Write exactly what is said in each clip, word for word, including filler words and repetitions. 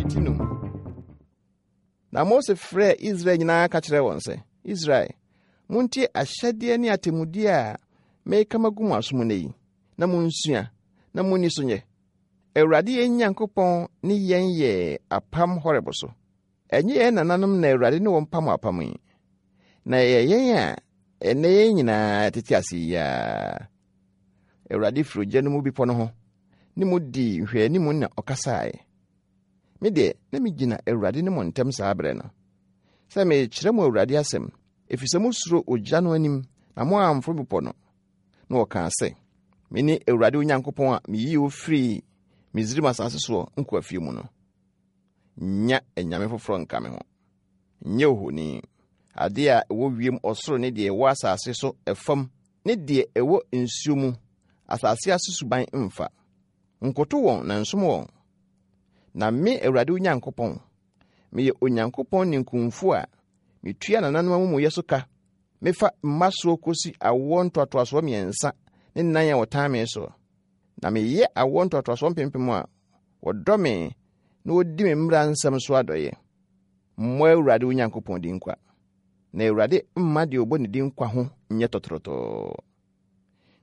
Ti num. Na Mose frɛɛ Israel nyinaa ka kyerɛɛ wɔn sɛ, Israel, montie ahyɛdeɛ ne atemmudeɛ a mereka magu mo asom nnɛ yi, na monsua, na monni so nyɛ. Awurade yɛn Nyankopɔn ne yɛn yɛɛ apam Horeb so. Ɛnyɛ yɛn nananom na Awurade ne wɔn pam apam yi, na ɛyɛ yɛn a ɛnnɛ yɛn nyinaa tete ase yi ara. Awurade firi ogya no mu bepɔ no ho ne mo dii nhwɛanimu na ɔkasaeɛ. Me deɛ, na megyina Awurade ne mo ntam saa berɛ no, sɛ merekyerɛ mo Awurade asɛm, ɛfiri sɛ mosuro ogya no anim na moamforo bepɔ no. Na ɔkaa sɛ, Mene Awurade wo Nyankopɔn a meyii wo firii Misraim asase soɔ nkoafie mu no. Nnya anyame foforɔ nka me ho. Nyɛ ohoni, adeɛ a ɛwɔ wiem ɔsoro ne deɛ ɛwɔ asase so ɛfam ne deɛ ɛwɔ nsuo mu asase ase suban mfa. Nkoto wɔn na nsom wɔn. Na me Awurade wo Nyankopɔn, meyɛ Onyankopɔn ninkunfo a metua nananom amumuyɛ so ka mefa mma soɔ kosi awoɔ ntoatoasoɔ mmiɛnsa ne nnan a wɔtan me soɔ. Na meyɛ awoɔ ntoatoasoɔ mpempem a wɔdɔ me na wɔdi me mmara nsɛm so adɔeɛ. Mmɔ Awurade wo Nyankopɔn din kwa, na Awurade mma deɛ ɔbɔ ne din kwa ho nyɛ tɔtorɔtɔɔ.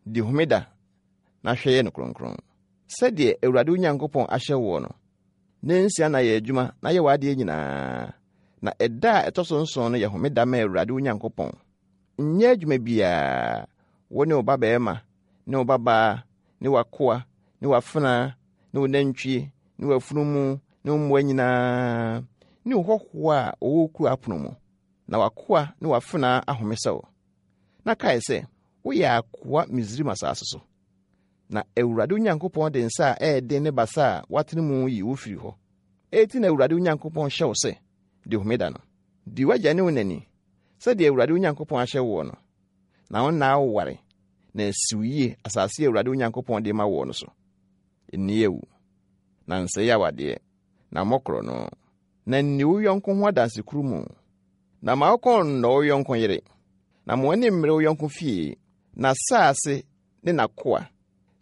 Di homeda na hwɛ yɛ no kronkron, sɛdeɛ Awurade wo Nyankopɔn ahyɛ woɔ no. Nnansia na yɛ adwuma na yɛ w'adeɛ nyinaa, na ɛda a ɛtɔ so nson no yɛ homeda ma Awurade wo Nyankopɔn. Nyɛ adwuma biara, wo ne wo babarima ne wo babaa ne w'akoa ne w'afenaa ne wo nantwie ne w'afunumu ne wo mmoa nyinaa ne wo hɔhoɔ a ɔwɔ wo kuro apono mu, na w'akoa ne w'afenaa ahome sɛ wo. Na kae sɛ woyɛ akoa Misraim asase so, na Awurade wo Nyankopɔn de nsa a ɛyɛ den ne basa a watene mu yi wo firi hɔ. Enti na Awurade wo Nyankopɔn hyɛ wo sɛ, di homeda no. Di w'agya ne wo na ni, sɛdeɛ Awurade wo Nyankopɔn ahyɛ woɔ no, na wo nna awoware na asi wo yie asase a Awurade wo Nyankopɔn de ma woɔ no so. Nni awu, na nsɛe awadeɛ, na mmɔ korɔno, na nni wo yɔnko ho adansekurumu, na ma wo kɔn nnɔ wo yɔnko yere, na ma w'ani mmere wo yɔnko fie, n'asase ne n'akoa,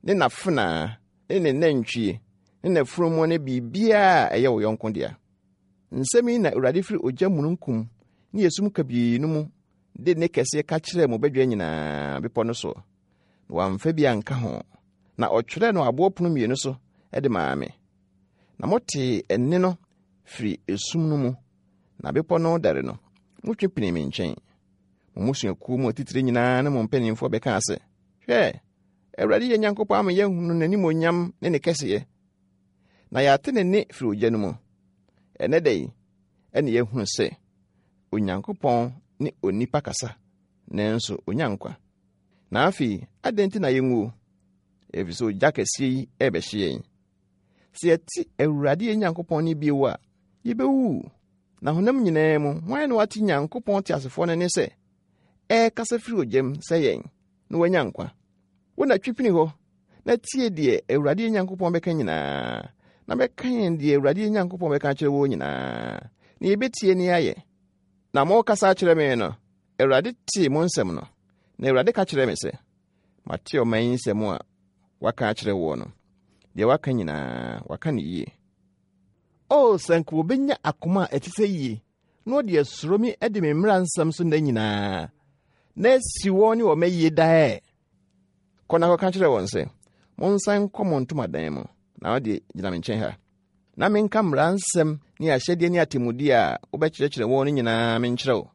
ne n'afenaa, ne ne nantwie, ne n'afunumu ne biribiara a ɛyɛ wo yɔnko dea. Nsɛm yi na Awurade firi ogya mununkum ne esum kabii no mu de nne kɛseɛ ka kyerɛɛ mo badwa nyinaa bepɔ no soɔ, na wamfa bi anka ho, na ɔtwerɛɛ no aboɔ pono mmienu so de maa me. Na motee ɛnne no firi esum no mu, na bepɔ no dɛre no, motwe pinii me nkyɛn. Mo mmusuakuo mu atitire nyinaa ne mo mpanimfoɔ bɛkaa sɛ, Hwɛ, Awurade yɛn Nyankopɔn ama yɛahunu n'animuonyam ne ne kɛseyɛ, na yɛate ne nne firi ogya no mu. Ɛnnɛ da yi, ɛne yɛahunu sɛ Onyankopɔn ne onipa kasa, nanso onya nkwa. Na afei, adɛn nti na yɛnwuo? Ɛfiri sɛ ogya kɛseɛ yi ɛrebɛhye yɛn. Sɛ yɛte Awurade yɛn Nyankopɔn nne bio a, yɛbɛwu. Na honam nyinaa mu, hwan na wate Nyankopɔn teasefoɔ no nne sɛ ɛrekasa firi ogya mu sɛ yɛn, na wanya nkwa? Wo na twi pini hɔ, na tie deɛ Awurade yɛn Nyankopɔn bɛka nyinaa, na bɛka yɛn deɛ Awurade yɛn Nyankopɔn bɛka akyerɛ wɔn nyinaa, na yɛbɛtie ne ayɛ. Na morekasa akyerɛ me no, Awurade tee mo nsɛm no, na Awurade ka kyerɛɛ me sɛ, Mate ɔman yi nsɛm a waka akyerɛ woɔ no. Deɛ waka nyinaa, waka no yie. O, sɛ anka wɔbɛnya akoma a ɛte sɛ yie, na wɔde asuro me adi me mmara nsɛm so nna nyinaa, na asi wɔn ne wɔn ayie daa ɛ. Kɔ na kɔka kyerɛ wɔn sɛ, Monsan nkɔ mo ntomadan mu, na wo deɛ gyina me nkyɛn ha, na menka mmara nsɛm ne ahyɛdeɛ ne atemmudeɛ a wobɛkyerɛkyerɛ wɔn no nyinaa menkyerɛ wo,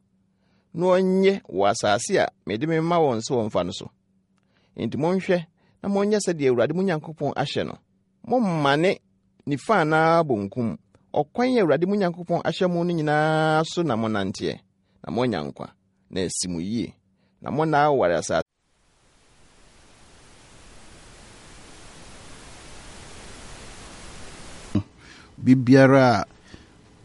na wɔnyɛ wɔ asase a mede mema wɔn sɛ wɔmfa no so. Enti monhwɛ na monyɛ sɛdeɛ Awurade mo Nyankopɔn ahyɛ no. Mommane nifa anaa bonkum. Ɔkwan a Awurade mo Nyankopɔn ahyɛ mo no nyinaa so na monnanteɛ, na moanya nkwa, na asi mo yie, na monna awoware asase Biribiara a